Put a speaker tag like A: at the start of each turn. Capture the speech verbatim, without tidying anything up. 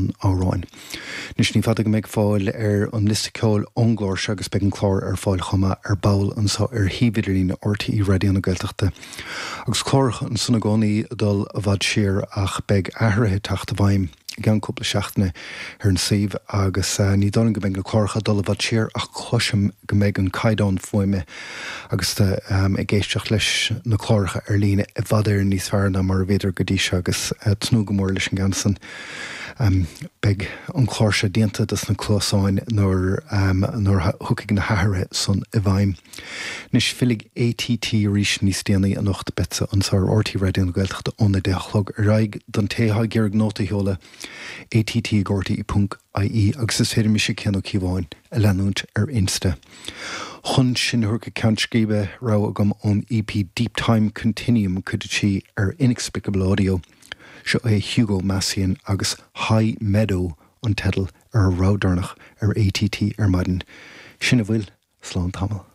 A: an amhráin. Anois ní fada go mbeidh fáil ar an liosta ceoil ón gclár seo agus beidh an clár ar fáil chomh maith ar ball anseo ar shuíomh idirlín RTÉ Raidió na Gaeltachta. Agus cláracha ansan i gcónaí ag dul i bhfad siar ach beidh athruithe ag teacht i bhfeidhm i gceann cúpla seachtaine ar an suíomh agus ní dóigh liom go mbeidh na cláracha ag dul i bhfad siar ach cloisim go mbeidh an caighdeán fuaime agus ag éisteacht leis na cláracha ar líne i bhfad Éireann níos fearr ná mar a bhíodar go dtí seo agus tnúth go mór leis an gceann san. Beidh an clár seo déanta dos na cluasáin nuair nuair a thiocfaidh na hathruithe san i bhfeidhm. Anois fillfidh ATT arís níos déanaí anocht beidh anseo ar RTÉ Raidió na Gaeltachta óna deich a chlog ar aghaidh don té atá ag iarraidh nóta a sheoladh ATT ag RTÉ ponc IE agus is féidir mise Cian Ó Cíobháin a leanúint ar Insta. Chun sinn a thabhairt go ceann scríbe rogha agam ón EP Deep Time Continuum cuid a trí ar Inexplicable Audio. Seo é Hugo Massien agus High Meadow an teideal ar a rogha deireanach ar ATT ar maidin. Sin a bhfuil slán tamall.